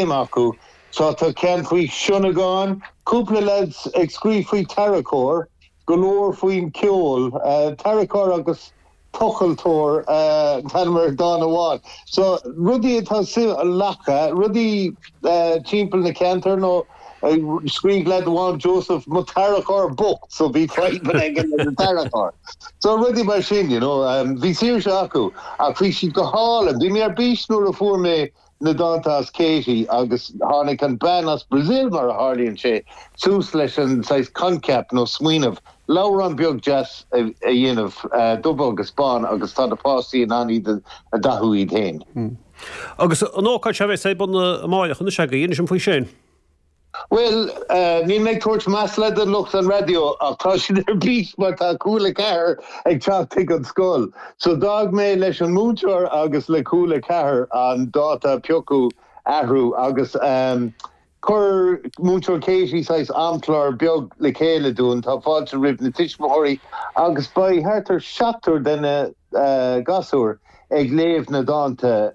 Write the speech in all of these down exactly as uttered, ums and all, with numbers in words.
acu. So tá ceann faoi sionnagáin, cúpla lads ag scríobh faoi tarracóir, go leor faoin ceol, tarracóir agus tochaltóir an t-ainm ar dán amháin. So rudaí atá suim lacha, rudaí timpeall na ceantar nó scríobh leaid amháin Joseph mo tarracóir bocht so bhí fadhbanna aige leis an tarracóir. So rudaí mar sin, you know, bhí saoirse acu ach bhí siad go hálainn. Bhí mé ar bís nuair a fuair mé na dánta as Katie agus tháinig an bean as Brazil mar a tharlaíonn sé suas leis an saghas coincheap nó smaoineamh leabhrán beag deas a dhéanamh dubh agus bán agus tá na páistí in ann iad a dhathú iad féin. Agus an ócáid seo a bheas ar bun amárach, inis inis dom faoi sin. Bhuel, níl mé ag tabhairt masla don lucht an raidió ach tá siad ar bís mar tá Cúla Ceathair ag teacht chuig an scoil. So d'fhág mé leis an múinteoir agus le Cúla Ceathair an dáta a piocadh athrú agus chuir múinteoir Katie saghas amchlár beag le chéile dúinn, tá fáilte roimh na tuismitheoirí agus beidh thart ar seachtar de na gasúir ag léamh na dánta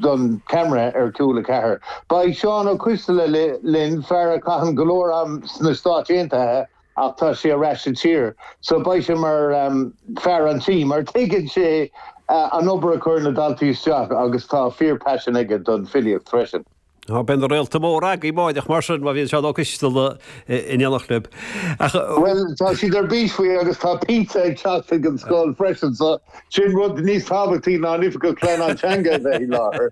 don camera ar Cúla Ceathair. Beidh Seán Ó Coisteala linn, fear a chaitheann go leor am sna Stáit Aontaithe ach tá sé ar ais sa tír, so beidh sé mar fear an tí, mar tuigeann sé an obair a chuir na daltaí isteach agus tá fíor-paisean aige don filíocht freisin. Tá beidh na réalta móra agaibh amáireach mar sin má bhíonn Seán Ó Coisteala in éineacht libh. Ach. Bhuel, tá siad ar bís faoi agus tá pizza ag teacht chuig an scoil freisin so sin rud níos tábhachtaí ná an Oifigeach Pleanála Teanga a bheith i láthair.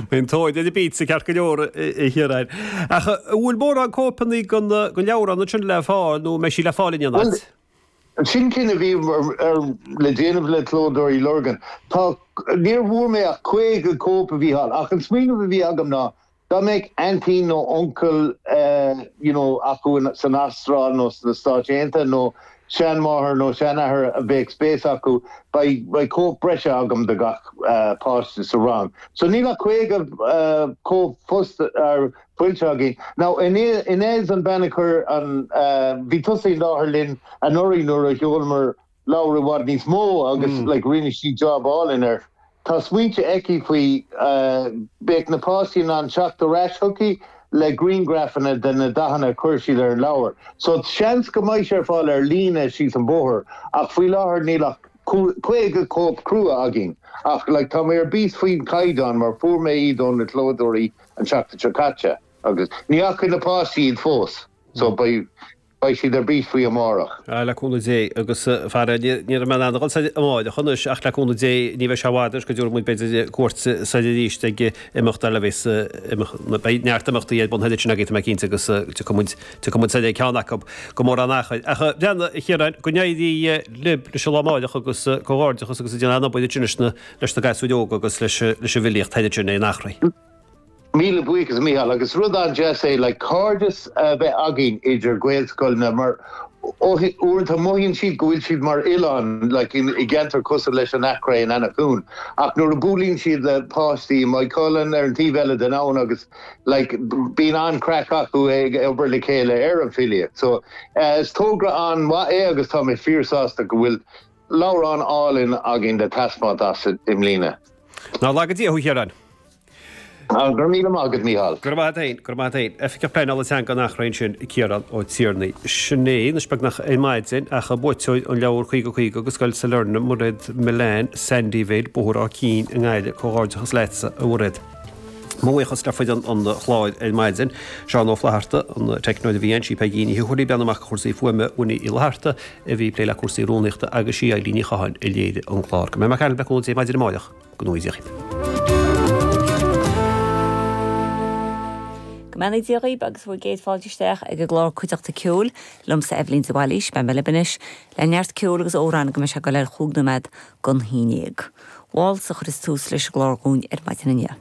Bíonn tóir ar an bpizza ceart go leor a Chiaráin. Ach an bhfuil mórán cóipeanna den leabhrán ansin le fáil nó an mbeidh sí le fáil in aon áit? Sin cinneadh a bhí le déanamh le Clódóirí Lurgan. Tá, níor bhfuair mé ach caoga cóip a Mhícheáil, ach an smaoineamh a bhí agam ná dá mbeadh aintín nó uncail you know acu san Astráil nó sna Stáit Aontaithe nó seanmháthair nó seanathair a bheadh spéis acu, beidh, beidh cóip breise agam do gach páiste sa rang. So níl ach caoga cóip fós foilsithe againn. Now, Inez an bean a chuir an, bhí tusa i láthair linn anuraidh nuair a sheolamar leabhar i bhfad níos mó agus like rinne sí job álainn air. Tá smaointe aici faoi, beidh na páistí in ann teacht ar ais chuici le grianghrafanna de na dathanna a chuir siad ar an leabhar. So seans go mbeidh sé ar fáil ar líne síos an bóthar ach faoi láthair níl ach caoga cóip crua againn. Ach like tá mé ar bís faoin chaighdeán mar fuair mé iad ó na clódóirí an tseachtain seo caite agus ní fhaca na páistí iad fós so beidh beidh siad ar bís faoi amárach. Ah, le cúnamh Dé, agus fara, ní raibh mé in ann a dhul soir amáireach anois ach le cúnamh Dé ní bheidh sé i bhfad anois go dtabharfaidh muid b'fhéidir cuairt soir arís ag imeacht eile a bheas imeacht, beidh neart imeachtaí ar bun thoir ansin agaibh tá mé cinnte agus tiocfaidh muid, tiocfaidh muid soir ag ceann acu go mórán achair. Ach breathnaigh, a Chiaráin, go n-éirí libh leis an lá amáireach agus comhghairdeachas agus ag déanamh an-obair ansin leis na, leis na gasúir óga agus leis, leis an bhfilíocht thoir ansin in Eachréidh. Míle buíochas a Mhícheáil, agus rud an-deas é like cairdeas a bheith againn idir Gaelscoileanna mar uaireanta mothaíonn siad go bhfuil siad mar oileán like in i gceantar cosúil leis an Eachréidh in Eanach Dhúin ach nuair a buaileann siad le páistí i Maigh Cuilinn ar an taobh eile den abhainn agus like bíonn an-chraic acu ag obair le chéile ar an bhfilíocht. So is togra an-mhaith é agus tá mé fíor-sásta go bhfuil leabhrán álainn againn le taispeáint as i mbliana. Nár laga Dia thú a Chiaráin. Go raibh míle maith agat, Mícheál. Go raibh maith agat féin, go raibh maith agat féin. Oifigeach Pleanála Teanga an Eachréidh ansin, Ciarán Ó Tiarnaigh. Sin é anois beagnach ar maidin ach buaiteoir an leabhar caoga caoga go Scoil Sailearna, Mairéad Millane, Sandyvale, Bóthar Áth Cinn i nGaillimh. Comhghairdeachas leatsa, a Mhairéad. Mo bhuíochas le foireann an chláir ar maidin, Seán Ó Flatharta, an teicneoir a bhí ann, sí Peigí Ní Thuathail ag breathnú amach do chúrsaí fuaime, Winnie Uí Fhlatharta a bhí ag plé le cúrsaí rúnaíochta agus sí Eilín Ní Chatháin a léirigh an clár. Go mbeidh mé le cúnamh Dé maidin amárach. Go ngnóthaí Dia dhaoibh. Go mbeannaí Dia dhaoibh agus bhur gcéad fáilte isteach ag an gclár Cuideachta Ceoil liomsa Eibhlín de Bhailís. Beidh mé libh anois le neart ceoil agus amhrán go mbeidh sé ag dul ar chúig nóiméad don haon déag. Waltz a chuireas tús leis an gclár dhúinn ar maidin inniu.